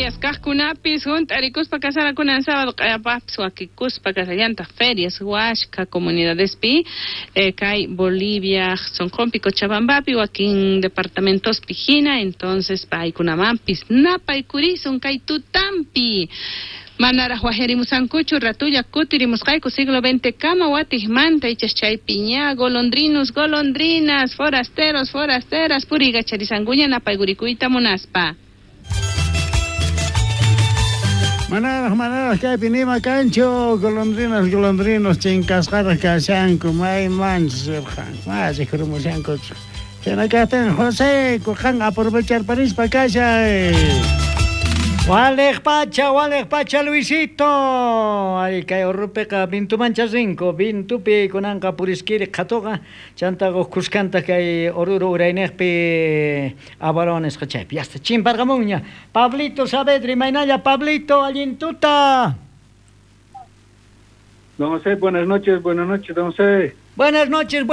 Ferias kaqkunapis hunt'arikuspa kasarakunan sábado q'ayapaqpis wakikuspa kasallantaq ferias washka comunidadespi kay Bolivia Sonqonpi Cochabambapi wakin departamentospi hina entonces paykunamanpis napaykurisun kay tutampi. Manaraq wajyarimusankuchu ratulla kutirimusqayku siglo XX kama watiqmanta ichas chaypi ña golondrinos, golondrinas, forasteros, forasteras puriykacharisankuña napaykurikuyta munaspa. Manaraq, manaraq kaypi nima kanchu, golondrinas, golondrinos chinkasqaraq kashanku, maymanchus rirqanku, mana rikhurumushankuchu. Chayna kaqtin José, qan aprovecharparispa kashay. Waliq pacha, waliq pacha Luisito. Ari kay urrupiqa vintumancha rinku, vintupi kunanqa puriskiri qhatuqa, chantaqa huk kuskanta kay Oruro urayniqpi Avalon nisqa chaypi. Ya está chimparqamunña. Pablito Saavedra, imaynalla Pablito, allin tuta. Don José, buenas noches, don José. Buenas noches,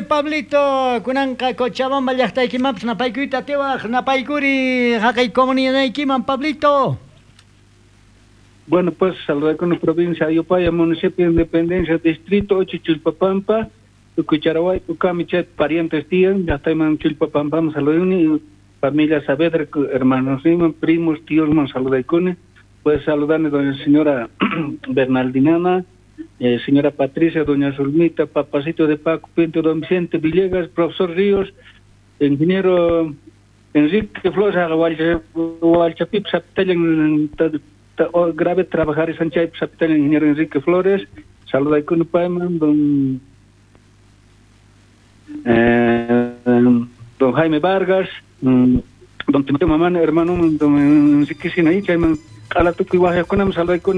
Pablito. Kunanqa Cochabamba llaqtaykimanpas napaykuyta atiwaq, napaykuri haqay comunidadaykiman, Pablito. Bueno, pues saludar con la provincia de Ayopaya, municipio de Independencia, distrito 8, Chulpapampa, Tucucharaway, Tucami, Chet, parientes tían, ya está en Chulpapampa, saludar familia Saavedra, hermanos, primos, tíos, man saludar pues saludarle doña señora Bernaldinana, señora Patricia, doña Zulmita, papacito de Paco Pinto, don Vicente Villegas, profesor Ríos, ingeniero Enrique Flores, Hualchapip, Zapitellan, grave trabajar en Sanchay, Zapitellan, ingeniero Enrique Flores, saluda con Paiman, don Jaime Vargas, don Timoteo Mamán, hermano, don Enrique Sinaí, Chayman, Alatucu y Guajaconam, saluda con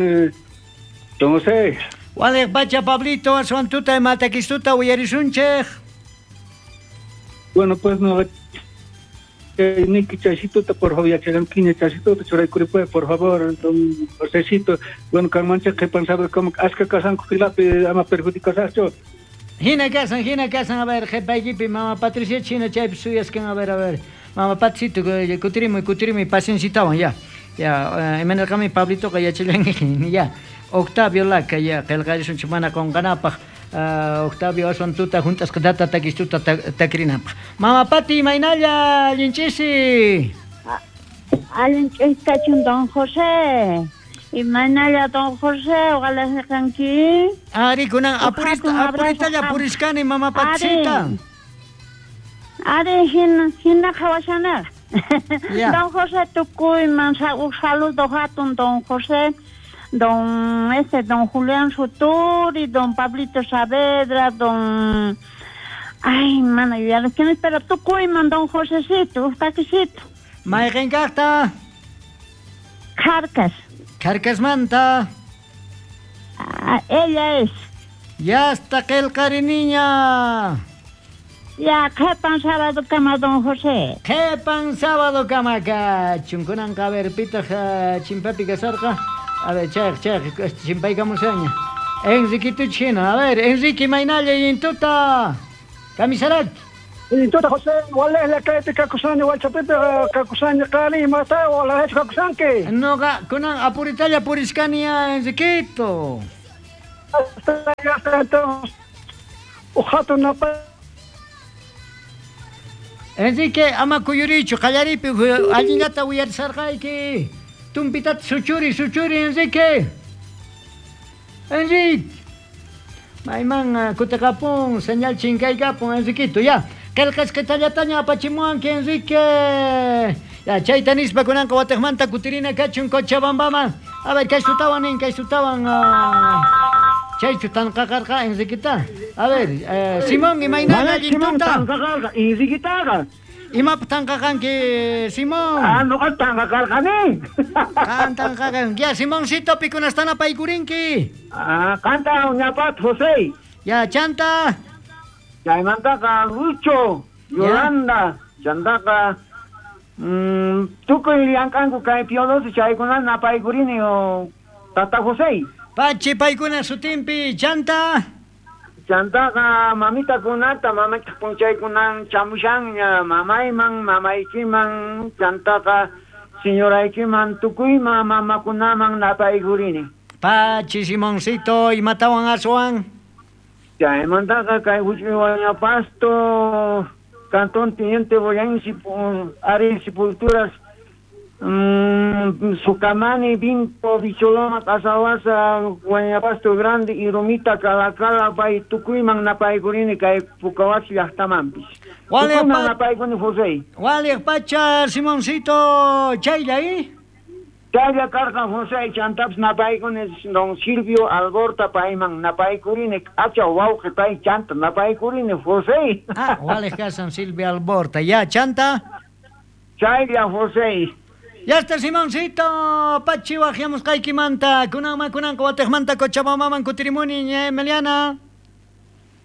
don José. Waliq pacha Pablito, aswantuta imatakistuta uyarisunchej. Bueno, pues no, Niki chasituta, por favor, yacharanquiña chasituta, churaykuripuy, por favor, don Josecito. Bueno, kanmancha qhipan sabe como aska kasanku filapi ama perjudicasacho. Hina kasan, a ver, qhipaykipi mama Patricia china chaypi suyaskan, a ver, mama Patricito, kutirimuy, paciencitawan, ya. Ya, imanarqami Pablitoqa yachallanki, ya. Octavio Laca, ya, qillqarisunchik mana qunqanapaq, Octavio aswan tuta hunt'asqatata takistuta takrinapaq. Mama Pati, imaynalla allinch'isi? Allin ch'isi don José. Imaynalla don José, uqalasqanki? Ari, kunan apuritalla purishkani mama Patisita. Ari, hina qhawashanaq. Don José tukuyman huk saludo hatun don José. Don don Julián Suturi, don Pablito Saavedra, don... Ay, mano, ya no quiero pero tukuyman, don Josecito, taquisito. Mayqin kaqta? Carcas. Carcasmanta. Ah, ella es. Ya está qillqariniña. Ya, qhipan sábado kama, don José. Qhipan sábado kama kachun. Kunanqa a ver, pitaq chimpapi kasarqa. A ver, chaq, chimpaykamusaña. Enriquito Chino, a ver, Enrique imaynalla intuta. Kamisarak. Intuta José, walej la kaypi kakusani, walchapipi kakusani qani, imata walahechu kakusanki. Noqa kunan apuritalla purishkani ya, Enriquito. Hasta entonces, uqhatun napa. Enrique, ama kuyurichu, qallaripi allinllata uyarisarqayki. Tumpitata suchuri, Enrique. Enrique. Mayman kutiqapun, señal chinkaykapun, Enriquito, ya. Qillqasqitallataña apachimuwanki, Enrique. Ya, chayta nispa kunanqa watiqmanta kutirina kachun Cochabambaman. A ver, kay sutawan nin, kay sutawan. Chaychu tanqaqarqa, Enriquita. A ver, Simón, imaynalla allintuta? Enriquitaqa. Imapaq tanqaqanki, Simón? Ah, noqa tanqaqarqani. Qan tanqaqan. Ya, Simoncito, pikunastan apaykurinki? Ah, qanta ñapat, José. Ya, chanta. Chaymantaqa Lucho, Yolanda, chantaqa tukuy llank'anku kay Piodosi chaykunata napaykurini tata José. Pachi paykuna sutinpi, chanta. Chantaqa mamitakunata, mamita punchaykunan chamushanña, mamayman, mamaykiman, chantaqa Señoraykiman tukuyman mamakunaman napaykurini. Pachi Simoncito, imatawan aswan? Chaymantaqa kay huch'uy Huaynapasto, Cantón Teniente Boyán, Ari Sepulturas, Sucamani, Vinto, Bicholoma, Casawasa, Huaynapasto Grande, Irumita, Calacala, pay tukuyman napaykurini kay Pucahuasi llaqtamanpis. Tukuyman napaykuni José. Waliq pacha Simoncito, chaylla ¿eh? Chaylla karqan José, chantapis napaykuni don Silvio Alborta payman napaykurini, acha wawqi pay chanta napaykurini José. Ah, waliq kasan Silvio Alborta, ya chanta. Chaylla José. Ya está Simoncito, pachi waqyamusqaykimanta, kunanman kunanqa watiqmanta Cochabambaman kutirimuni, ña Emiliana.